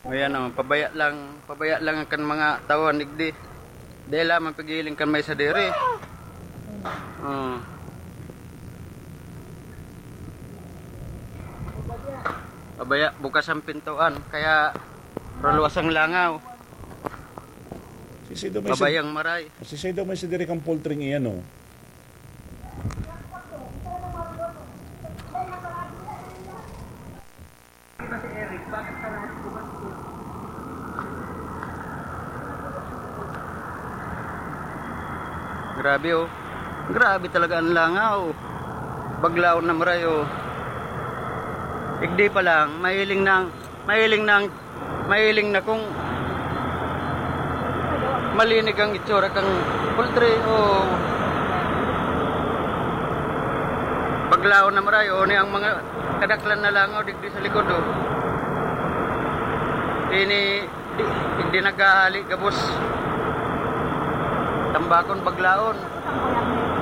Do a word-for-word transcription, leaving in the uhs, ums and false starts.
Ayan o, pabaya lang, pabaya lang kan mga tawan digdi. Dahil lamang pigiling kan may sadiri. Oh. Pabaya, bukas ang pintuan, kaya raluwas ang langaw. Sisido may Pabayang maray. Sisido may sadiri kang poultry iyan, oh. Grabe, oh. Grabe talaga ang langaw. Baglaon na maray, oh. Igdi pa lang, mahiling nang, mahiling nang, mahiling na kung malinig ang itsura kang poultry, oh. Baglaon na maray, oh, ni ang mga kadaklan na langaw digdi sa likod, oh. Ini, di, di naghahali gabos. Tambakon, baglaon.